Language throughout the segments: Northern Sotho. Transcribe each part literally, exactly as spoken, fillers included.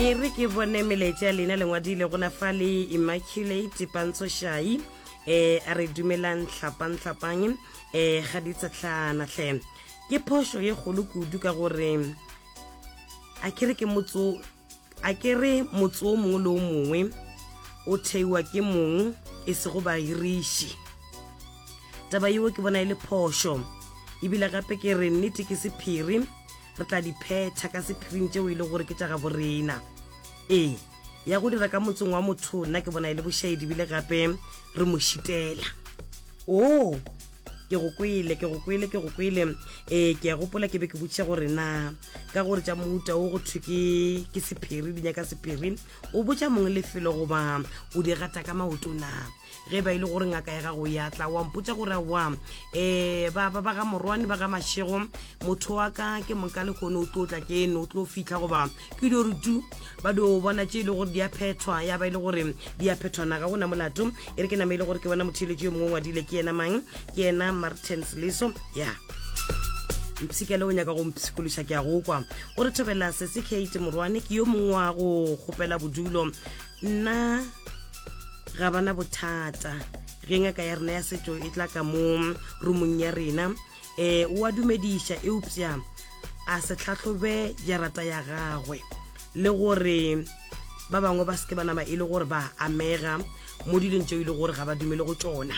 E re ke bone melaetša ya lena lengwadile gona fa le Immaculate Pantsošai um a re dumelang hlapang hlapang um ga di tshetlana hle. Ke phošo ye kgolo kudu ka gore a ke re ke motso a ke re motse o mongwe le o mongwe o theiwa ke mong e sego bahiriši. Taba yeo ke bona e le phošo ebile gape ke re nnete ke sephiri, re tla di phetha ka sephiring tšeo e le gore ke tša gabo rena. Ee, ya go dira ka motseng wa motho nna ke bona e le bošaedi ebile gape re mo šitela. Oo, ke go kwele, ke go kwele, ke go kwele. Ee, ke a gopola ke be ke botšiša gore na ka gore tša mohuta o go thwe ke ke sephiri, di nyaka sephiri, o botša mong lefelo goba o di gata ka maoto na? Ge ba e le gore ngaka ya gago ya tla wa mpotša gore wa um ba ba ba ga Morwane ba ga Mashego, motho wa ka ke moka lekgono o tlo tla ke eno o tlo fihla goba ke dio re tu ba dio bona tše e le gore di a phethwa, ya ba e le gore di a phethwa na ga gona molato. E re ke nama e le gore ke bona motheeletši yo mongwe o ngwadile, ke yena mang? Ke yena Martins Leso. Ya mpshikele o nyaka go mpshikološa, ke a go kwa. O re thobela sese Kate Morwane ke yo mongwe wa go kgopela bodulo. Nna ga bana bothata ge ngaka ya rena ya setšo e tla ka mo rumong ya rena, um o a dumediša eupša a se hlahlobe jarata ya gagwe le gore ba bangwe ba seke ba nama e le gore ba amega mo dilong tšeo e le gore ga ba dumele go tšona.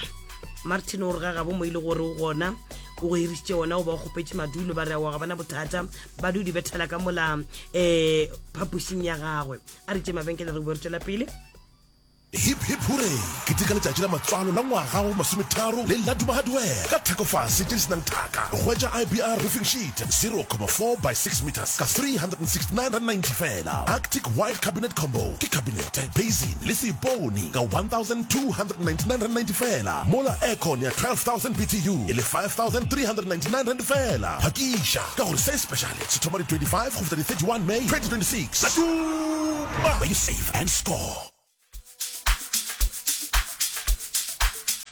Martin o re ga gabo mo e le gore o gona o go hirišitše ona o ba o kgopetše madulo, ba re aowa ga bana bothata, ba dio di bethela ka mola um phapošing ya gagwe. A re tše mabenkele re boe re tšwela pele. Hip hip hooray! Keteka letšatši la matswalo la ngwaga wa bomasometharo le Laduma Hardware ka thekofase tše di se nang thaka. Hwetša I B R roofing sheet zero comma four by six meters ka three hundred and sixty nine rand ninety fela. Arctic white cabinet combo ke kabinete, basin le seipone ka one thousand two hundred and ninety nine rand ninety fela, mola aircon ya twelve thousand B T U e le five thousand three hundred and ninety nine rand fela. Phakiša ka gore se speciale se thoma di twenty five go fihla di thirty one May twenty twenty six. Laduma, where you save and score.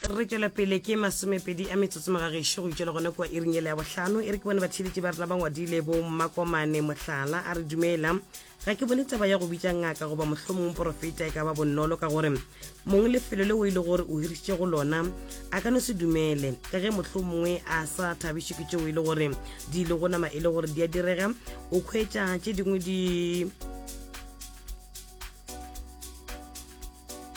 Re tšwela pele ke masomepedi a metsotso magagešo go itšwela gona kua iring ele ya bohlano. E re ke bone batheeletši ba rena ba ngwadile bo Mmakomane mohlala a re dumela, ga ke bone taba ya go bitša ngaka goba mohlomong porofeta e ka ba bonolo ka gore mong lefelo leo e le gore o hirišitše go lona a ka no se dumele ka ge mohlomongwe a sa thabišwe ke tšeo e le gore di ile go nama e le gore di a direga. O khwetša tše dingwe di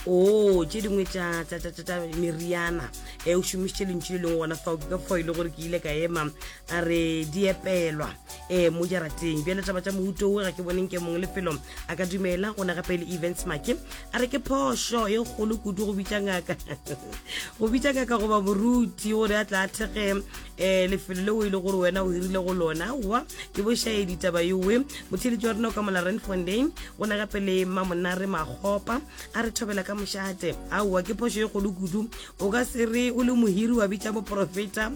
o tše dingwe tša tša tša tša meriana e o šomišitše lentšu le lengwe gona fao, ke ka fao e le gore ke ile ka ema a re di epelwa um mo jarateng. Bjale taba tša mohuto o ga ke boneng ke mongwe lefelo a ka dumela gona. Gape le Events Make a re ke phošo e kgolo kudu go bitša ngaka go bitša ngaka goba moruti gore a tla a thekge um lefelo leo e le gore wena o hirile go lona. Aowa ke bošaedi taba ewe. Motheeletši wa rena o ka mola Renfontein gona gape le Mamonare Makgopa a re thobela ka mošate. Aowa ke phošo e kgolo kudu, o ka se re o le mohiri wa bitša moprofeta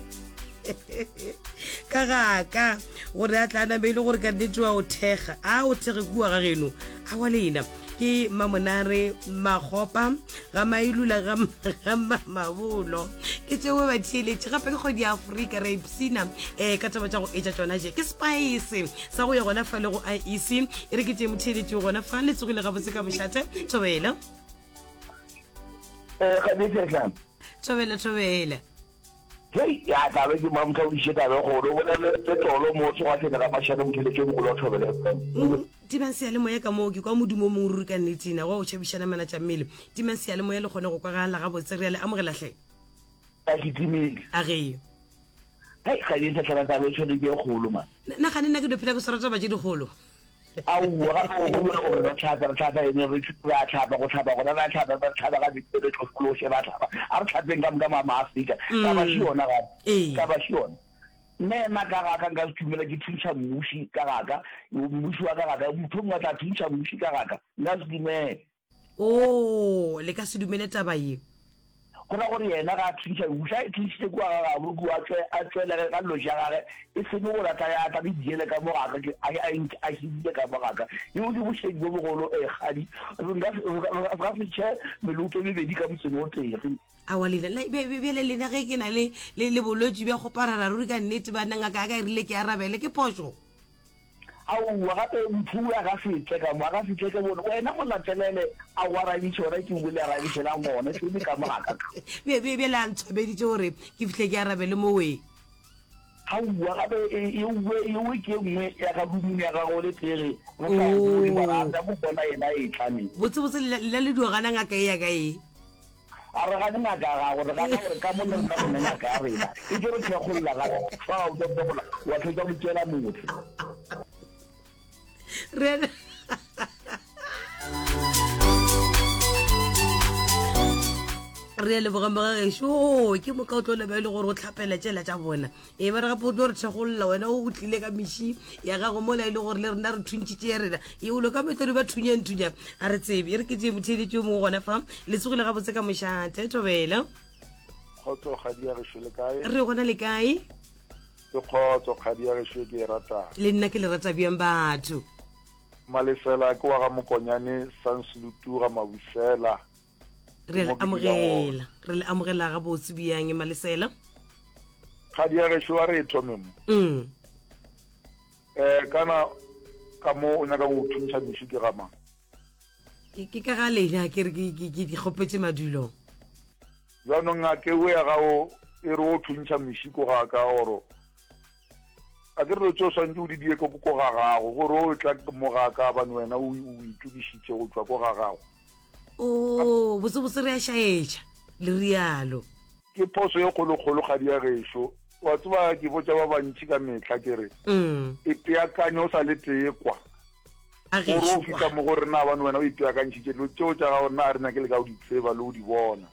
ka gaka gore a tla name e le gore ka nnete wa o thekga, a o thekge kua ga geno. Aowa lena ke Mamonare Makgopa ga Mailula ga ga Mamabolo ke tšeo batheeletši. Gape ke kgwedi ya Afrika re ipsina um ka taba tša go etša tšona je ke spice sa go ya gona fa le go I E C. E re ke tše motheeletši gona fa le tsogile gabotse ka mošate. Thobela. Eh, ga di sehla. Thobela, thobela. Hei, ya tla be ke mamtla o iše tabe kgolo, o bolele le tolo mo tsoga hlene ga mašane motheletši o mogolo wa Thobela F M. Mm, timang seyalemoya ka moo, ke kwa modumo o mongwe ruri ka nnete na, wa o tšhabišana mana tša mmele. Timang seyalemoya le kgone go kwagala gabotse, re a le amogela hle. A ke timile. A ge. Hei, ga di sehlana taba e tshwane ke e kgolo man. Na gane nna ke dio phela ke swara taba tše dikgolo. Aowa, gape o gopola gore re hlapa, re hlapa eng, re re a hlapa, go hlapa gona re a hlapa, re hlapa ga bete, re tlošološe, ra hlapa. A re hlapeng ka moka ma Maafrika. Taba še yona gape. Taba še yona. Nna ema ka gaka nka se dumela ke thuntšha mmuši ka gaka, mmuši wa ka gaka, motho mongwe a tla thuntšha mmuši ka gaka, nka se dumele. Oo, le ka se dumele taba ye. Go ra gore yena ga a thuntšha mmuši, a e thuntšhitše kua ga gabo, kua a tšwe, a tšwelege ka dilo tša gage, e seng gore a tla ya a tla di jele ka mo gaka, ke, a, a, a hibile ka mo gaka. Yeo ke bošedi bjo bogolo, ee, kgadi. Re nka se, re ka, re ka se tšhe meloto e mebedi ka motseng o tee. Re. Aowa, lena, le, be, be, bjale lena ge ke na le, le, le bolwetši bja kgoparara, ruri ka nnete, banna, ngaka ya ka e rile ke arabele, ke phošo. Aowa, gape motho o a ka se tle ka mo, a ka se tle ke bone. Wena mo latelele a go arabiše gona ke bole arabišelang gona, se le ka mo ga ka ka. Bje, bje, bjale a ntshwabeditše gore ke fihle ke arabele mo we. Aowa, gape ewe, ewe ke e nngwe ya ka roomong ya gago le tee re sa e bone, mara a tla mo bona yena a etla ne. Botse, botse, le, le le dio gana ngaka ye ya ka ye. A re gane ngaka ya gago, re gana gore ka mo le rena re ne ngaka ya rena. E tlo re thekgolla gape. Fa o tlo gola, wa fetša go tšeela motse. Re re a leboga mogagešo ke moka o tlo leba e le gore o tlhapela tšela tša bona e ba re gape o tlo re thekgolola wena o tlile ka meši ya gago mola e le gore le rena re thuntšitše ya rena e olo ka metlodi ba thunyang thunya a re tsebe e re ke tšee motheeletši yo mongwe gona fa le tsogile gabotse ka mošate thobela Kgotso kgadi ya gešo le kae? Re gona le kae? Ke kgotso kgadi ya gešo e ke e ratang. Le nna ke le rata bjang batho. Malesela ke wa ga Mokonyane Sanslutu ga Mabusela. Re le amogela, re le amogela gabotse bjang Malesela? Kgadi ya gešo a re e thome mo. Mm. Eh kana ka mo o nyaka go thuntšha meši ke ga mang? Ke ke ka ga lena ke re ke ke ke di kgopetše madulo. Bjanong ngaka ewe ya gago e re o thuntšha meši ko ga ka oro a ke re dilo tše o swantše o di die ko ko ga gago gore o tla mo ga ka bane wena o o itokišitše go tšwa ko ga gago. Oo, botsebotse re a šaetša, le rialo. Ke phoso ye kgolokgolo, kgadi ya gešo. Wa tseba, ke botša ba bantši ka mehla, ke re, Ipeakanye o sa le tee kwa. A Gore gešo o fihla kwa. mo go rena, gobane wena o ipeakantšhitše dilo tšeo tša gago, rena ga re nyake le ka go di tseba le go di bona.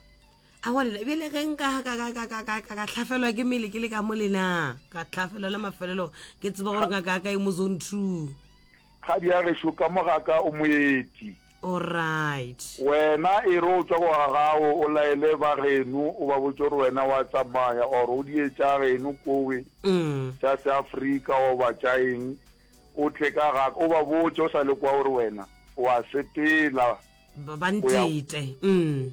Aowa lena, bjale ge nka ka, ka, ka, ka, ka, ka, ka hlafelwa ke mmele ke le ka mo lena, ka hlafelwa la mafelelo, ke tseba gore ngaka ya ka e mo zone two. Kgadi ya gešo, ka mo ga ka o moeti. Alright. Wena e re o tšwa ko ga gago o laele ba geno o ba botše gore wena wa tsamaya or o die tša geno kowe tša seAfrika goba tša eng o tle ka ga ka o ba botše o sa le kwa gore wena o a sepela Ba ba o ya ntete.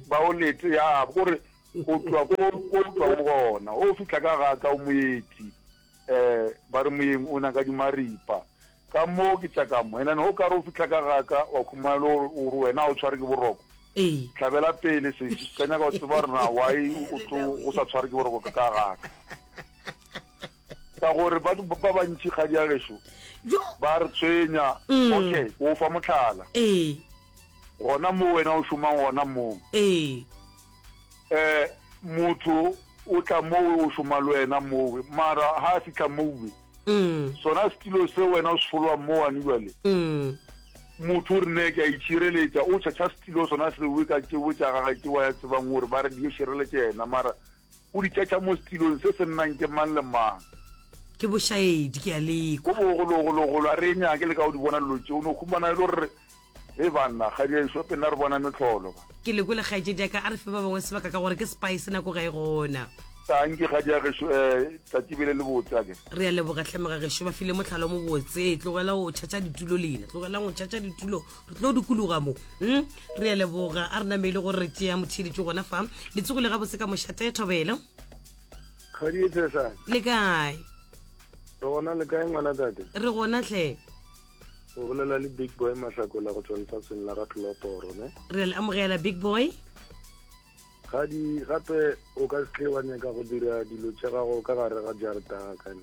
ba o lete ya kore o tšwa ko ko o tšwago gona o fihla ka ga ka o moeti um ba re moyeng o nyaka dimaripa Ka mo ke tša ka mo. And then go ka re o fihla ka ga ka, wa khumana le gore o re wena ga o tshware ke boroko. Ee. Hlabela pele sesi, ka nyaka go tseba gore na why o tlo o sa tshware ke boroko ka ga ka. Ka gore ba ba bantši kgadi ya gešo Jo. ba re tshwenya. Mm. Okay, ke o fa mohlala. Ee. Gona mo wena o šomang gona mo. Ee. Eh, motho o tla mowe o šoma le wena mowe, mara ha a fihla mowe, Mm. Sona setilo se wena o se folowang mowane bjale, Mm. motho o re ne ke a itšhireletša, o tšhatšha setilo sona sewe ka tšewe tša gage tšeo a tsebang gore ba re di yo šireletša yena, mara o di tšhatšha mo setilong se se nnang ke mang le mang. Ke bošaedi, ke a lekwa. Ko bogologologolo, a re e nyake le ka go di bona dilo tšeo, o no humana e le gore Hei banna, kgadi ya ešo pele re bona mehlolo ba. Ke le kwele kgaetšedi ya ka, a re fe ba bangwe sebaka ka gore ke spice nako ga e gona. Tanki kgadi ya gešo, eh, tšatši bele le botse akere. Re a leboga hle mogagešo, ba file mohlala o mobotse. Tlogela go tšhatša ditulo lena, tlogelang go tšhatša ditulo, re tlo dikologa mo. Hm? Re a leboga, a re namele gore re tšea motheeletši gona fa. Le tsogile gabotse ka mošate, Thobela. Kgadi e tshesane. Le kae? Re gona, le kae ngwana tate? Re gona hle. O bolela le Big Boy Mahlakola go tšwa lefaseng la ga Tloloporo, ne? Re le amogela Big Boy. Gadi, gape o ka se tle wa nyaka go dira dilo tša gago ka gare ga jarta ya ka, ne?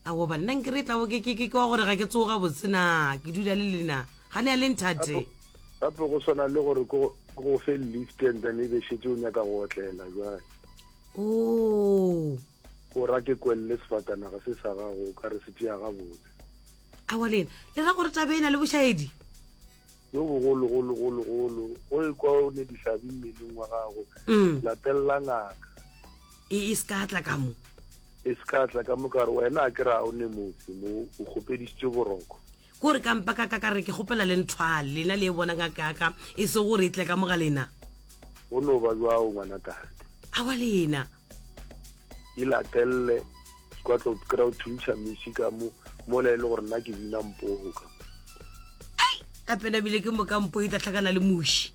Aowa banna, nke re tla bo ke, ke, ke kwa gore ga ke tsoga gabotse na, ke dula le lena. Ga ne a le nthate. Gape, gape go swana le gore ke go, ke go fe lift and then e be šetše o nyaka go otlela bjale. Oo. O ra ke kwelle sefatanaga se sa gago, o ka re se tšea gabotse. Aowa lena, le ra gore taba e na le bošaedi? Yo bogologologologolo, o ekwa o ne dihlabi mmeleng wa gago, Mm. latelela ngaka. E, e se ka tla ka mo. E se ka tla ka mo, ka re wena a ke re ga o ne motse mo, o kgopedišitše boroko. Ko re ka mpa ka ka ka re ke kgopela le nthwale, lena le e bona ngaka ya ka, e se gore e tle ka mo ga lena. Go no ba bjao ngwana tate. Aowa lena. E latelle, kwa tlo kry-a o thuntšha meši ka mo, mola e le gore nna ke bina mpogo ka mo. Ai, gape nabile ke moka mpo e tla hlakana le muši.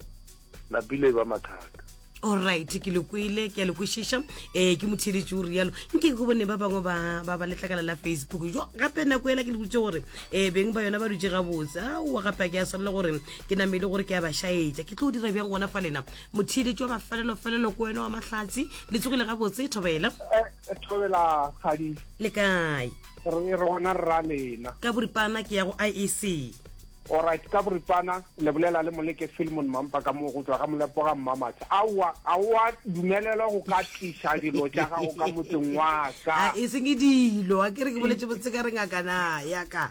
Napile e ba mathata. Alright, ke le kwele, ke a le kwešiša. um ke motheeletši o rialo. Nke ke bone ba bangwe ba ba ba letlakala la Facebook. Jo gape nako ela ke le botse gore um beng ba yona ba dutse gabotse. Aowa gape a ke a swanela gore ke namele gore ke a ba šaetša. Ke tlo dira bjang gona fa lena? Motheeletši wa mafelelofelelo ko wena wa Mahlatsi. Le tsogile gabotse, thobela? Thobela kgadi. Le kae? Re re gona rra lena. Ka boripana ke ya go I E C. Alright, ka boripana le bolela le Moleke Philemon Mampa ka mo go tswa ga Molepo ga Mmamatha. Aowa, aowa dumelelwa go ka tliša dilo tša gago ka motseng wa ka. A e seng dilo, a ke re ke boletse botse ka re ngaka na ya ka.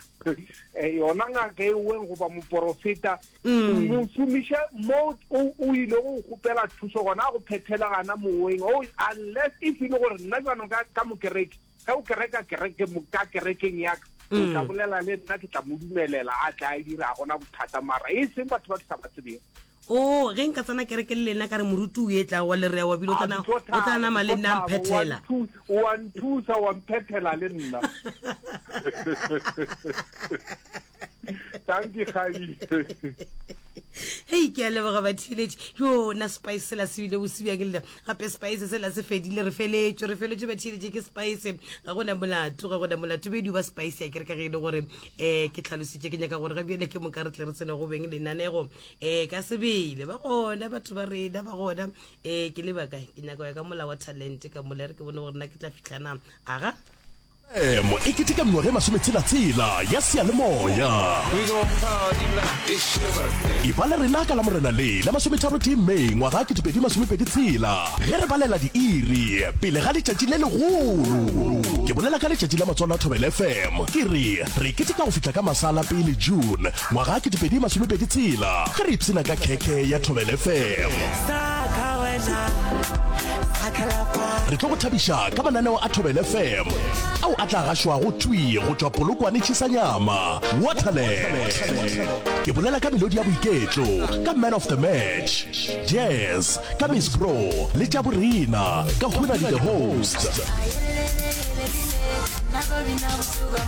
Eh, yona ngaka e weng goba moporofeta, mo šomiše mo o o ile go kgopela thuso gona a go phethela gana moweng. Oh, unless if e le gore nna jaanong ka ka mokereke, ge o kereka kereke ka kerekeng ya ka, o tla bolela le nna, ke tla mo dumelela a tla e dira, gona bothata, mara e seng batho ba ke sa ba tsebeng. O ge nka tsena kereke le lena ka re moruti o etla wa le rea wa bile o tla o tla nama le nna mphethela. Wa nthusa, wa mphethela le nna. Thank you, Kgadi. Hei, ke a leboga batheeletši. Yo na spice sela se bile bose bjang le gape spice sela se fedile, re feletšwe, re feletšwe batheeletši ke spice. Ga gona molato, ga gona molato bedi ba spice ya kereke ge e le gore um ke tlhalositše, ke nyaka gore ga bjale ke moka re tle re tsene go beng lenanego um ka sebele. Ba gona batho ba rena ba gona um ke lebaka ke nyaka ya ka molao wa talent ka mola re ke bone gore nna ke tla fitlhana aga. M e keteka mengwaga e masometshela-tshela ya seyalemoya. E ba le rena ka Lamorena le la masometharo-tee May ngwaga ketepedi masomepedi tshela ge re balela diiri pele ga letšatši le legolo. Ke bolela ka letšatši la matswalo a Thobela F M. Ke re re keteka go fihla ka masala pele June ngwaga ketepedi masomepedi tshela ge re ipshina ka khekhe ya Thobela F M. Re tlo go thabiša ka mananeo a Thobela F M ao a tla gašwago thwi go tšwa Polokwane Chisanyama, Waterland. Ke bolela ka melodi ya boiketlo, ka Man of the Match, Jazz, ka Miss Bro le tša borena, ka Hunadi the Host.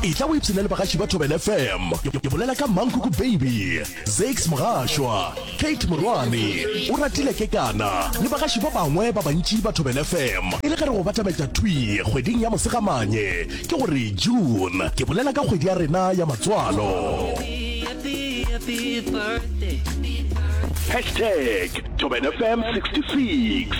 Etla o ipshine le bagaši ba Thobela F M. Ke bolela ka Mankuku Baby, Zakes Mogashwa, Kate Morwane, o ratile Kekana le bagaši ba bangwe ba bantši ba Thobela F M. E le ge re go batametša thwi kgweding ya Mosegamanye, ke gore June, ke bolela ka kgwedi ya rena ya matswalo. Hashtag Thobela F M sixty-six.